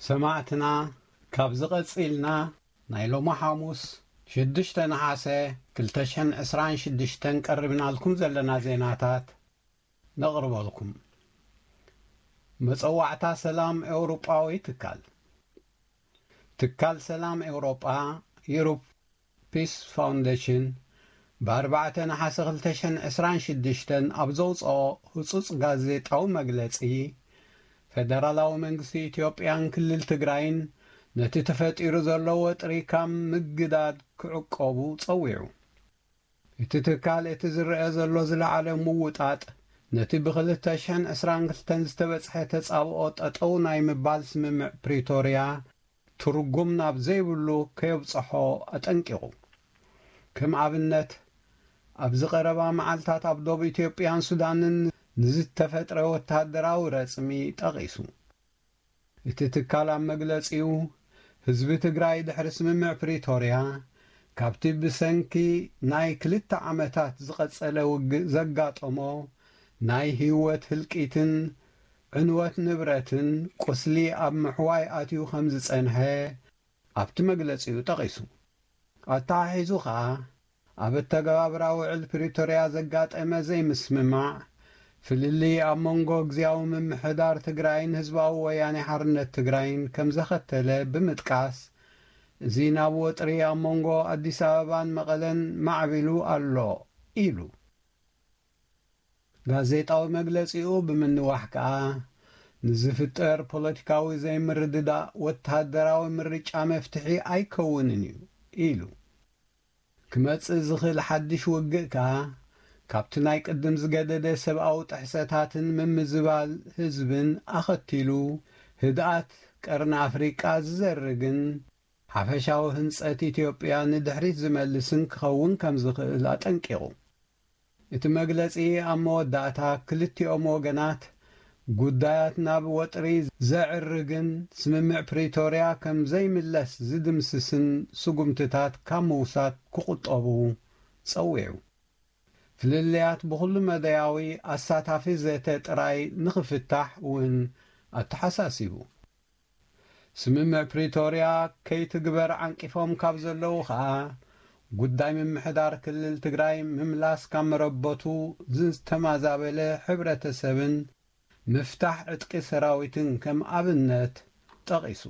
ሰማዕትና፣ ካብዚ ቀጺልና ናይ ሎሚ ሓሙስ ሽዱሽተ ነሓሰ ክልተ ሽሕን ዕስራን ሽዱሽተን ቀሪብናልኩም ዘለና ዜናታት ነቕርበልኩም። መጸዋዕታ ሰላም ኤውሮጳዊ ትካል። ትካል ሰላም ኤውሮጳ፣ ዩሮፕ ፒስ ፋውንዴሽን፣ ብኣርባዕተ ነሓሰ ክልተ ሽሕን ዕስራን ሽዱሽተን ኣብ ዘውጽኦ ህጹጽ ጋዜጣዊ መግለጺ፣ ፈደራላዊ መንግስቲ ኢትዮጵያን ክልል ትግራይን ነቲ ተፈጢሩ ዘሎ ወጥሪ ካብ ምግዳድ ክዕቆቡ ጸዊዑ። እቲ ትካል እቲ ዝረአ ዘሎ ዝለዓለ ምውጣጥ ነቲ ብ ክልተ ሽሕን ዕስራን ክልተን ዝተበጽሐ ተጻብኦ ጠጠው ናይ ምባል ስምምዕ ፕሪቶርያ ትርጉም ናብ ዘይብሉ ከየብጽሖ ኣጠንቂቑ። ከም ኣብነት፣ ኣብዚ ቀረባ መዓልታት ኣብ ዶብ ኢትዮጵያን ሱዳንን ንዝተፈጥረ ወተሃደራዊ ረጽሚ ጠቒሱ። እቲ ትካል ኣብ መግለጺኡ፣ ህዝቢ ትግራይ ድሕሪ ስምምዕ ፕሪቶርያ፣ ካብቲ ብሰንኪ ናይ ክልተ ዓመታት ዝቐጸለ ውግእ ዘጋጠሞ ናይ ህይወት ህልቂትን ዕንወት ንብረትን ቁስሊ ኣብ ምሕዋይ ኣትዩ ከም ዝጸንሐ ኣብቲ መግለጺኡ ጠቒሱ። ኣተሓሒዙ ከኣ፣ ኣብ ኣተገባብራ ውዕል ፕሪቶርያ ዘጋጠመ ዘይምስምማዕ፣ ፍልልይ ኣብ መንጎ ግዝያዊ ምምሕዳር ትግራይን ህዝባዊ ወያኔ ሓርነት ትግራይን ከም ዘኸተለ ብምጥቃስ፣ እዚ ናብ ወጥሪ ኣብ መንጎ ኣዲስ ኣበባን መቐለን ማዕቢሉ ኣሎ ኢሉ። ጋዜጣዊ መግለጺኡ ብምንዋሕ ከኣ፣ ንዝፍጠር ፖለቲካዊ ዘይምርድዳእ ወተሃደራዊ ምርጫ መፍትሒ ኣይከውንን እዩ ኢሉ። ክመጽእ ዝኽእል ሓድሽ ውግእ ከኣ፣ ካብቲ ናይ ቅድም ዝገደደ ሰብኣዊ ጥሕሰታትን ምምዝባል ህዝብን ኣኸቲሉ፣ ህድኣት ቀርኒ ኣፍሪቃ ዝዘርግን ሓፈሻዊ ህንጸት ኢትዮጵያ ንድሕሪት ዝመልስን ክኸውን ከም ዝኽእል ኣጠንቂቑ። እቲ መግለጺ ኣብ መወዳእታ፣ ክልቲኦም ወገናት ጉዳያት ናብ ወጥሪ ዘዕርግን ስምምዕ ፕሪቶርያ ከም ዘይምለስ ዝድምስስን ስጉምትታት ካብ ምውሳድ ክቑጠቡ ጸዊዑ። ፍልልያት ብኹሉ መዳያዊ ኣሳታፊ ዘተ ጥራይ ንኽፍታሕ እውን ኣተሓሳሲቡ። ስምምዕ ፕሪቶርያ ከይትግበር ዓንቂፎም ካብ ዘለዉ ኸኣ፣ ጉዳይ ምምሕዳር ክልል ትግራይ ምምላስ ካብ መረበቱ ዝተማዛበለ ሕብረተሰብን ምፍታሕ ዕጥቂ ሰራዊትን ከም ኣብነት ጠቒሱ።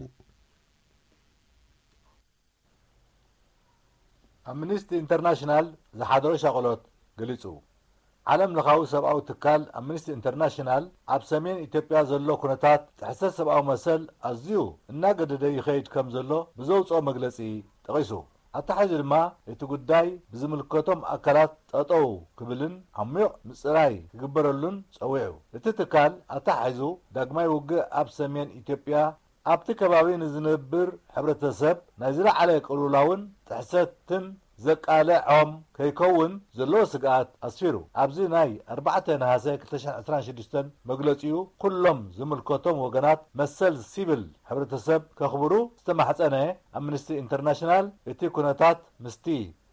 ኣምኒስቲ ኢንተርናሽናል ዝሓደሮ ሻቕሎት ገሊጹ። ዓለም ለኻዊ ሰብኣዊ ትካል ኣምኒስቲ ኢንተርናሽናል ኣብ ሰሜን ኢትዮጵያ ዘሎ ኩነታት ጥሕሰት ሰብኣዊ መሰል ኣዝዩ እናገደደ ይኸይድ ከም ዘሎ ብዘውጽኦ መግለጺ ጠቒሱ። ኣተሓሒዙ ድማ እቲ ጉዳይ ብዝምልከቶም ኣካላት ጠጠው ክብልን ዓሚቕ ምጽራይ ክግበረሉን ጸዊዑ። እቲ ትካል ኣተሓሒዙ ዳግማይ ውግእ ኣብ ሰሜን ኢትዮጵያ ኣብቲ ከባቢ ንዝነብር ሕብረተሰብ ናይ ዝለዓለ ቅልውላውን ጥሕሰትን ዘቃልዖም ከይከውን ዘለዎ ስግኣት ኣስፊሩ። ኣብዚ ናይ ኣርባዕተ ነሃሰ ክልተ ሽሕን ዕስራን ሽዱሽተን መግለጺኡ፣ ኩሎም ዝምልከቶም ወገናት መሰል ሲቪል ሕብረተሰብ ከኽብሩ ዝተማሕጸነ ኣምነስቲ ኢንተርናሽናል፣ እቲ ኩነታት ምስቲ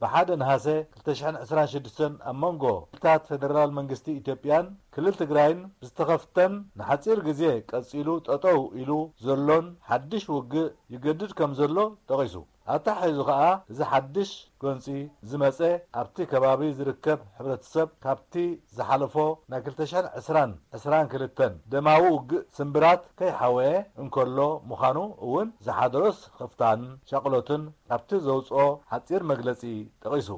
ብሓደ ነሃሰ ክልተ ሽሕን ዕስራን ሽዱሽተን ኣብ መንጎ ክልላት ፌደራል መንግስቲ ኢትዮጵያን ክልል ትግራይን ብዝተኸፍተን ንሓጺር ግዜ ቀጺሉ ጠጠው ኢሉ ዘሎን ሓድሽ ውግእ ይገድድ ከም ዘሎ ጠቒሱ። ኣተሓሒዙ ከኣ፣ እዚ ሓድሽ ጎንጺ ዝመጸ ኣብቲ ከባቢ ዝርከብ ሕብረተሰብ ካብቲ ዝሓለፎ ናይ ክልተ ሽሕን ዕስራን ዕስራን ክልተን ደማዊ ውግእ ስምብራት ከይሓወየ እንከሎ ምዃኑ እውን ዝሓደሮ ስኽፍታን ሻቕሎትን ካብቲ ዘውጽኦ ሓጺር መግለጺ ጠቒሱ።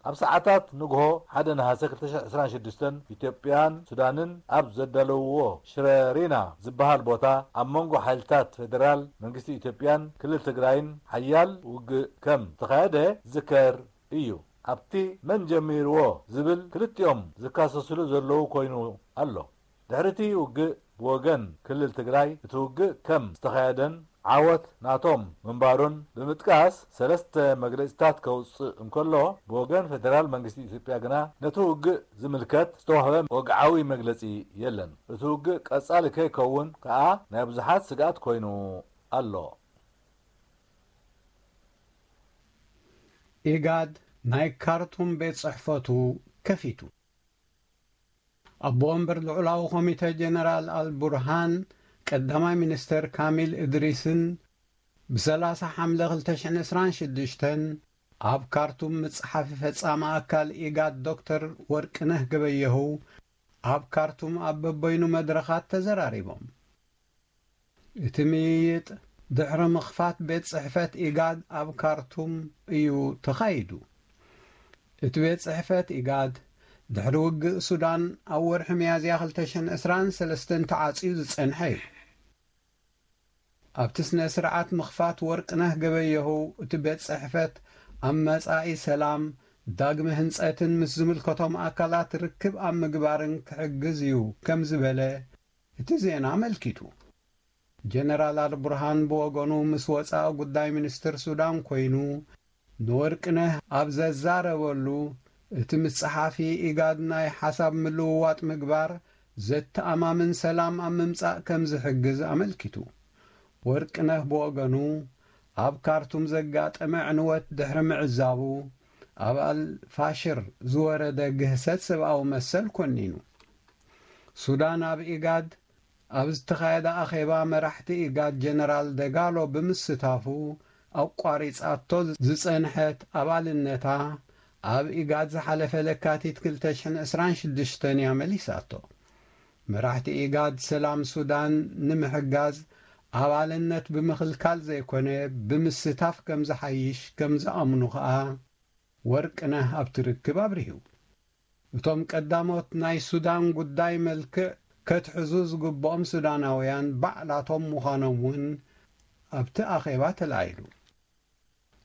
ኣብ ሰዓታት ንግሆ ሓደ ነሃሰ ክልተ ሽሕን ዕስራን ሽዱሽተን ኢትዮጵያን ሱዳንን ኣብ ዘዳለውዎ ሽረሪና ዝበሃል ቦታ ኣብ መንጎ ሓይልታት ፌደራል መንግስቲ ኢትዮጵያን ክልል ትግራይን ሓያል ውግእ ከም ዝተኻየደ ዝከር እዩ። ኣብቲ መን ጀሚርዎ ዝብል ክልቲኦም ዝካሰስሉ ዘለዉ ኮይኑ ኣሎ። ድሕሪ እቲ ውግእ ብወገን ክልል ትግራይ እቲ ውግእ ከም ዝተኻየደን ዓወት ናቶም ምንባሩን ብምጥቃስ ሰለስተ መግለጺታት ከውጽእ እንከሎ፣ ብወገን ፌደራል መንግስቲ ኢትዮጵያ ግና ነቲ ውግእ ዝምልከት ዝተዋህበ ወግዓዊ መግለጺ የለን። እቲ ውግእ ቀጻሊ ከይከውን ከኣ ናይ ብዙሓት ስግኣት ኮይኑ ኣሎ። ኢጋድ ናይ ካርቱም ቤት ጽሕፈቱ ከፊቱ። ኣቦ ወንበር ልዑላዊ ኮሚተ ጀነራል ኣልቡርሃን ቀዳማይ ሚኒስተር ካሚል እድሪስን፣ ብ30 ሓምለ ክልተ ሽሕን ዕስራን ሽዱሽተን ኣብ ካርቱም ምጽሓፊ ፈጻሚ ኣካል ኢጋድ ዶክተር ወርቅነህ ገበየሁ ኣብ ካርቱም ኣብ በበይኑ መድረኻት ተዘራሪቦም። እቲ ምይይጥ ድሕሪ ምኽፋት ቤት ጽሕፈት ኢጋድ ኣብ ካርቱም እዩ ተኻይዱ። እቲ ቤት ጽሕፈት ኢጋድ ድሕሪ ውግእ ሱዳን ኣብ ወርሒ ሚያዝያ ክልተ ሽሕን ዕስራን ሰለስተን ተዓጽዩ ዝጸንሐ እዩ። ኣብቲ ስነ ስርዓት ምኽፋት ወርቅነህ ገበየሁ፣ እቲ ቤት ጽሕፈት ኣብ መጻኢ ሰላም፣ ዳግመ ህንጸትን ምስ ዝምልከቶም ኣካላት ርክብ ኣብ ምግባርን ክሕግዝ እዩ ከም ዝበለ እቲ ዜና ኣመልኪቱ። ጀነራል ኣልቡርሃን ብወገኑ ምስ ወጻኢ ጉዳይ ሚኒስትር ሱዳን ኮይኑ ንወርቅነህ ኣብ ዘዛረበሉ፣ እቲ ምስ ጸሓፊ ኢጋድ ናይ ሓሳብ ምልውዋጥ ምግባር ዘተኣማምን ሰላም ኣብ ምምጻእ ከም ዝሕግዝ ኣመልኪቱ። ወርቅነህ ብወገኑ ኣብ ካርቱም ዘጋጠመ ዕንወት ድሕሪ ምዕዛቡ፣ ኣብ ኣልፋሽር ዝወረደ ግህሰት ሰብኣዊ መሰል ኮኒኑ። ሱዳን ኣብ ኢጋድ ኣብ ዝተኻየደ ኣኼባ መራሕቲ ኢጋድ ጀነራል ደጋሎ ብምስታፉ ኣቋሪጻቶ ዝጸንሐት ኣባልነታ ኣብ ኢጋድ ዝሓለፈ ለካቲት ክልተ ሽሕን ዕስራን ሽዱሽተን እያ መሊሳቶ። መራሕቲ ኢጋድ ሰላም ሱዳን ንምሕጋዝ ኣባልነት ብምኽልካል ዘይኮነ ብምስታፍ ከም ዝሓይሽ ከም ዝኣምኑ ከኣ ወርቅነህ ኣብቲ ርክብ ኣብሪሁ። እቶም ቀዳሞት ናይ ሱዳን ጉዳይ መልክዕ ከትሕዙ ዝግብኦም ሱዳናውያን ባዕላቶም ምዃኖም እውን ኣብቲ ኣኼባ ተላዒሉ።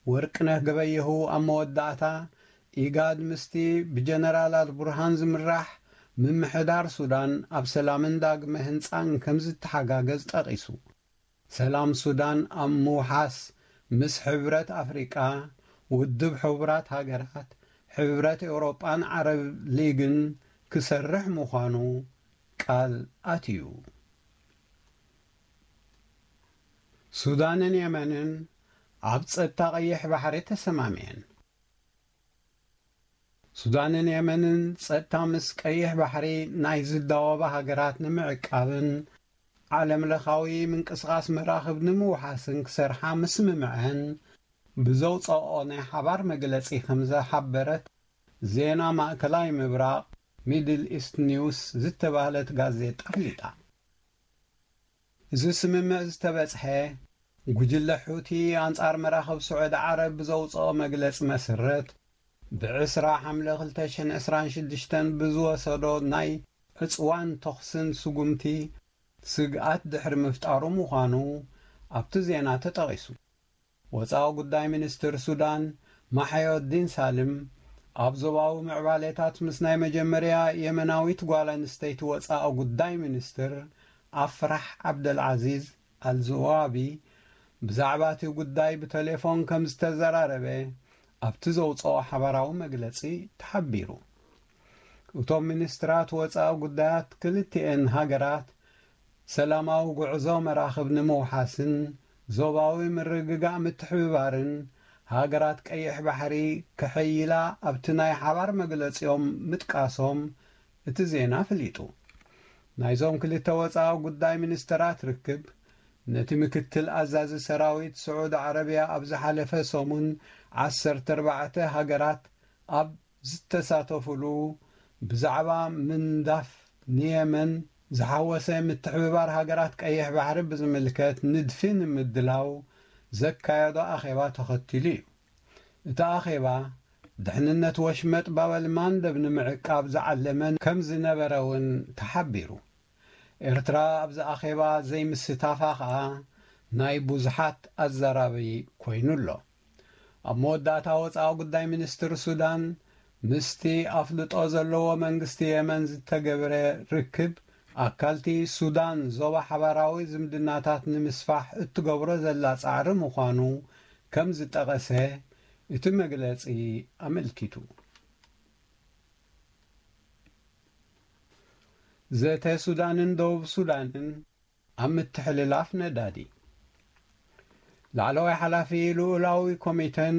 ወርቅነህ ገበየሁ ኣብ መወዳእታ፣ ኢጋድ ምስቲ ብጀነራል ኣልቡርሃን ዝምራሕ ምምሕዳር ሱዳን ኣብ ሰላምን ዳግመ ህንጻን ከም ዝተሓጋገዝ ጠቒሱ። ሰላም ሱዳን ኣብ ምውሓስ ምስ ሕብረት ኣፍሪቃ፣ ውድብ ሕቡራት ሃገራት፣ ሕብረት ኤውሮጳን ዓረብ ሊግን ክሰርሕ ምዃኑ ቃል ኣትዩ። ሱዳንን የመንን ኣብ ጸጥታ ቀይሕ ባሕሪ ተሰማሚዐን። ሱዳንን የመንን ጸጥታ ምስ ቀይሕ ባሕሪ ናይ ዝዳወባ ሃገራት ንምዕቃብን ዓለም ለኻዊ ምንቅስቓስ መራኽብ ንምውሓስን ክሰርሓ ምስምምዐን ብዘውጸኦ ናይ ሓባር መግለጺ ከም ዝሓበረት ዜና ማእከላይ ምብራቕ ሚድል ኢስት ኒውስ ዝተባህለት ጋዜጣ ኣፍሊጣ። እዚ ስምምዕ ዝተበጽሐ፣ ጉጅለ ሑቲ ኣንጻር መራኽብ ስዑዲ ዓረብ ብዘውጽኦ መግለጺ መሰረት፣ ብ20 ሓምለ ክልተ ሽሕን ዕስራን ሽዱሽተን ብዝወሰዶ ናይ ዕጽዋን ተኹስን ስጉምቲ ስግኣት ድሕሪ ምፍጣሩ ምዃኑ ኣብቲ ዜና ተጠቒሱ። ወጻኢ ጉዳይ ሚኒስትር ሱዳን ማሕዮዲን ሳልም፣ ኣብ ዞባዊ ምዕባሌታት ምስ ናይ መጀመርያ የመናዊት ጓል ኣንስተይቲ ወጻኢ ጉዳይ ሚኒስትር ኣፍራሕ ዓብደልዓዚዝ ኣልዝዋቢ ብዛዕባ እቲ ጉዳይ ብቴሌፎን ከም ዝተዘራረበ ኣብቲ ዘውጽኦ ሓባራዊ መግለጺ ተሓቢሩ። እቶም ሚኒስትራት ወጻኢ ጉዳያት ክልቲኤን ሃገራት ሰላማዊ ጉዕዞ መራኽብ ንምውሓስን ዞባዊ ምርግጋእ ምትሕብባርን ሃገራት ቀይሕ ባሕሪ ከሐይላ ኣብቲ ናይ ሓባር መግለጺኦም ምጥቃሶም እቲ ዜና ኣፍሊጡ። ናይዞም ክልተ ወጻኢ ጉዳይ ሚኒስተራት ርክብ፣ ነቲ ምክትል ኣዛዚ ሰራዊት ስዑዲ ዓረብያ ኣብ ዝሓለፈ ሰሙን ዓሰርተ ኣርባዕተ ሃገራት ኣብ ዝተሳተፉሉ፣ ብዛዕባ ምንዳፍ ንየመን ዝሓወሰ ምትሕብባር ሃገራት ቀይሕ ባሕሪ ብዝምልከት ንድፊ ንምድላው ዘካየዶ ኣኼባ ተኸቲሉ እዩ። እቲ ኣኼባ፣ ድሕንነት ወሽመጥ ባበል ማንደብ ንምዕቃብ ዝዓለመ ከም ዝነበረ እውን ተሓቢሩ። ኤርትራ ኣብዚ ኣኼባ ዘይምስታፋ ከኣ ናይ ብዙሓት ኣዘራቢ ኮይኑ ኣሎ። ኣብ መወዳእታ ወጻኢ ጉዳይ ሚኒስትር ሱዳን ምስቲ ኣፍልጦ ዘለዎ መንግስቲ የመን ዝተገብረ ርክብ ኣካልቲ ሱዳን ዞባ ሓባራዊ ዝምድናታት ንምስፋሕ እትገብሮ ዘላ ጻዕሪ ምዃኑ ከም ዝጠቐሰ እቲ መግለጺ ኣመልኪቱ። ዘተ ሱዳንን ደቡብ ሱዳንን ኣብ ምትሕልላፍ ነዳዲ። ላዕለዋይ ሓላፊ ልኡላዊ ኮሚተን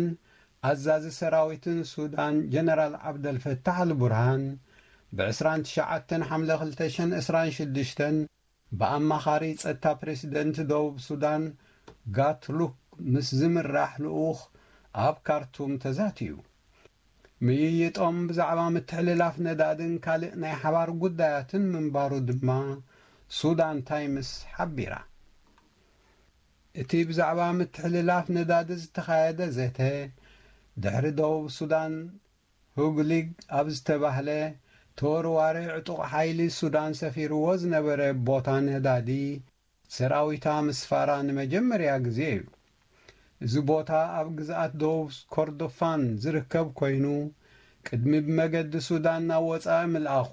ኣዛዚ ሰራዊትን ሱዳን ጀነራል ዓብደልፈታሕ ኣልቡርሃን ብ29 ሓምለ ክልተ ሽሕን ዕስራን ሽዱሽተን ብኣማኻሪ ጸጥታ ፕሬሲደንት ደቡብ ሱዳን ጋትሉክ ምስ ዝምራሕ ልኡኽ ኣብ ካርቱም ተዛትዩ። ምይይጦም ብዛዕባ ምትሕልላፍ ነዳድን ካልእ ናይ ሓባር ጉዳያትን ምንባሩ ድማ ሱዳን ታይምስ ሓቢራ። እቲ ብዛዕባ ምትሕልላፍ ነዳዲ ዝተኻየደ ዘተ፣ ድሕሪ ደቡብ ሱዳን ሁግሊግ ኣብ ዝተባህለ ተወርዋሪ ዕጡቕ ሓይሊ ሱዳን ሰፊርዎ ዝነበረ ቦታ ነዳዲ ሰራዊታ ምስፋራ ንመጀመርያ ግዜ እዩ። እዚ ቦታ ኣብ ግዝኣት ደቡብ ኮርዶፋን ዝርከብ ኮይኑ፣ ቅድሚ ብመገዲ ሱዳን ናብ ወጻኢ ምልኣኹ፣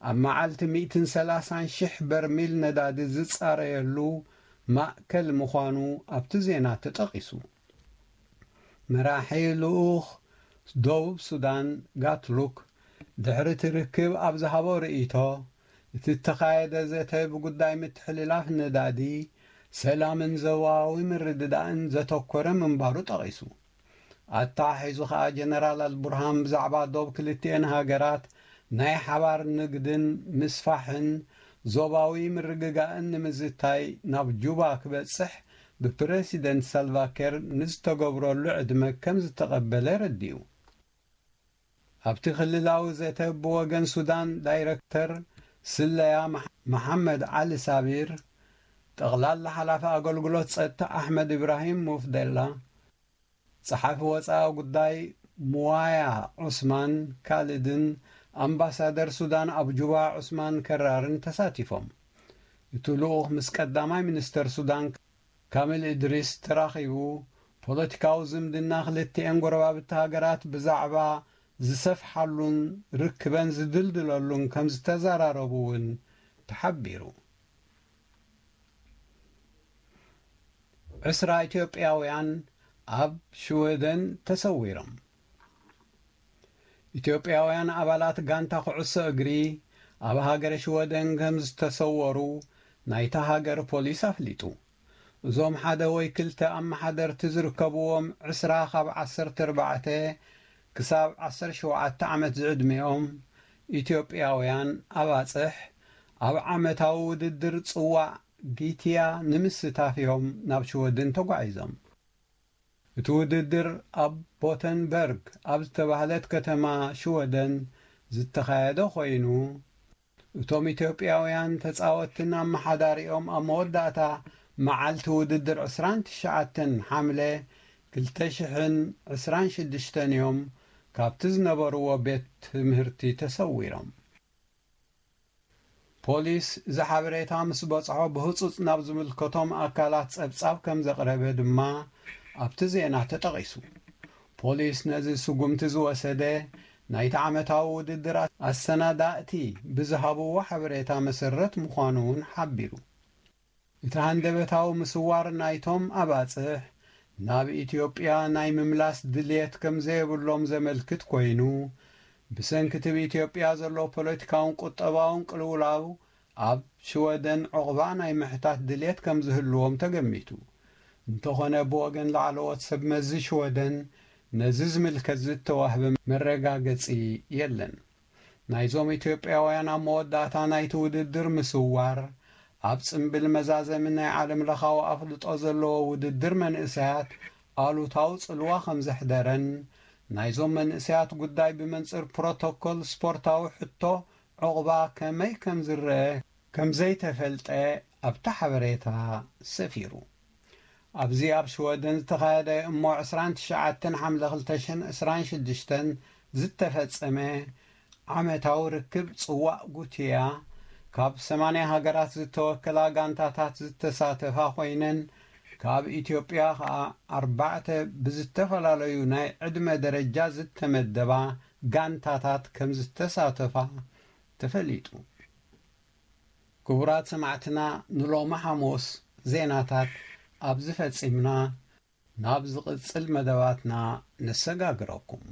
ኣብ መዓልቲ ሚእትን ሰላሳን ሽሕ በርሚል ነዳዲ ዝጻረየሉ ማእከል ምዃኑ ኣብቲ ዜና ተጠቒሱ። መራሒ ልኡኽ ደቡብ ሱዳን ጋትሉክ ድሕሪ እቲ ርክብ ኣብ ዝሃቦ ርእይቶ፣ እቲ እተኻየደ ዘተ ብጉዳይ ምትሕልላፍ ነዳዲ፣ ሰላምን ዞባዊ ምርድዳእን ዘተኮረ ምንባሩ ጠቒሱ። ኣተሓሒዙ ከኣ ጀነራል ኣልቡርሃን ብዛዕባ ዶብ ክልቲኤን ሃገራት ናይ ሓባር ንግድን ምስፋሕን ዞባዊ ምርግጋእን ንምዝታይ ናብ ጁባ ክበጽሕ ብፕረሲደንት ሳልቫኪር ንዝተገብረሉ ዕድመ ከም ዝተቐበለ ረዲኡ። ኣብቲ ክልላዊ ዘተ ብወገን ሱዳን ዳይረክተር ስለያ መሓ-፣ መሓመድ ዓሊ ሳቢር፣ ጠቕላላ ሓላፊ ኣገልግሎት ጸጥታ ኣሕመድ ኢብራሂም ሙፍደላ፣ ጸሓፊ ወጻኢ ጉዳይ ሙዋያ ዑስማን ካልድን ኣምባሳደር ሱዳን ኣብ ጁባ ዑስማን ከራርን ተሳቲፎም። እቲ ልኡኽ ምስ ቀዳማይ ሚኒስተር ሱዳን ካሚል እድሪስ ተራኺቡ፣ ፖለቲካዊ ዝምድና ክልቲኤን ጎረባብቲ ሃገራት ብዛዕባ ዝሰፍሓሉን ርክበን ዝድልድለሉን ከም ዝተዘራረቡ እውን ተሓቢሩ። ዕስራ ኢትዮጵያውያን ኣብ ሽወደን ተሰዊሮም። ኢትዮጵያውያን ኣባላት ጋንታ ኩዕሶ እግሪ ኣብ ሃገረ ሽወደን ከም ዝተሰወሩ ናይታ ሃገር ፖሊስ ኣፍሊጡ። እዞም ሓደ ወይ ክልተ ኣመሓደርቲ ዝርከብዎም ዕስራ ካብ ዓሰርተ ኣርባዕተ ክሳብ ዓሰርተ ሸውዓተ ዓመት ዝዕድሚኦም ኢትዮጵያውያን ኣባጽሕ ኣብ ዓመታዊ ውድድር ጽዋዕ ጊትያ ንምስታፍ እዮም ናብ ሽወደን ተጓዒዞም። እቲ ውድድር ኣብ ቦተንበርግ ኣብ ዝተባህለት ከተማ ሽወደን ዝተኻየደ ኮይኑ፣ እቶም ኢትዮጵያውያን ተጻወትትን ኣመሓዳሪኦም ኣብ መወዳእታ መዓልቲ ውድድር ዕስራን ትሽዓተን ሓምለ ክልተ ሽሕን ዕስራን ሽዱሽተን እዮም ካብቲ ዝነበርዎ ቤት ትምህርቲ ተሰዊሮም። ፖሊስ እዚ ሓበሬታ ምስ በጽሖ ብህጹጽ ናብ ዝምልከቶም ኣካላት ጸብጻብ ከም ዘቕረበ ድማ ኣብቲ ዜና ተጠቒሱ። ፖሊስ ነዚ ስጉምቲ ዝወሰደ ናይቲ ዓመታዊ ውድድር ኣሰናዳእቲ ብዝሃብዎ ሓበሬታ መሰረት ምዃኑ እውን ሓቢሩ። እቲ ሃንደበታዊ ምስዋር ናይቶም ኣባጽሕ ናብ ኢትዮጵያ ናይ ምምላስ ድልየት ከም ዘየብሎም ዘመልክት ኮይኑ፣ ብሰንኪ እቲ ብኢትዮጵያ ዘሎ ፖለቲካውን ቁጠባውን ቅልውላው ኣብ ሽወደን ዑቕባ ናይ ምሕታት ድልየት ከም ዝህልዎም ተገሚቱ። እንተኾነ ብወገን ላዕለዎት ሰብ መዚ ሽወደን ነዚ ዝምልከት ዝተዋህበ መረጋገጺ የለን። ናይዞም ኢትዮጵያውያን ኣብ መወዳእታ ናይቲ ውድድር ምስዋር፣ ኣብ ጽምብል መዛዘሚ ናይ ዓለምለኻዊ ኣፍልጦ ዘለዎ ውድድር መንእሰያት ኣሉታዊ ጽልዋ ከም ዘሕደረን፣ ናይዞም መንእሰያት ጉዳይ ብመንጽር ፕሮቶኮል ስፖርታዊ ሕቶ ዑቕባ ከመይ ከም ዝረአ ከም ዘይተፈልጠ ኣብቲ ሓበሬታ ሰፊሩ። ኣብዚ ኣብ ሽወደን ዝተኻየደ እሞ ዕስራን ትሽዓተን ሓምለ ክልተ ሽሕን ዕስራን ሽዱሽተን ዝተፈጸመ ዓመታዊ ርክብ ጽዋእ ጉትያ፣ ካብ ሰማንያ ሃገራት ዝተወከላ ጋንታታት ዝተሳተፋ ኮይነን፣ ካብ ኢትዮጵያ ከኣ ኣርባዕተ ብዝተፈላለዩ ናይ ዕድመ ደረጃ ዝተመደባ ጋንታታት ከም ዝተሳተፋ ተፈሊጡ። ክቡራት ሰማዕትና፣ ንሎሚ ሓሙስ ዜናታት ኣብዚ ፈጺምና። ናብ ዝቕጽል መደባትና ነሰጋግረኩም።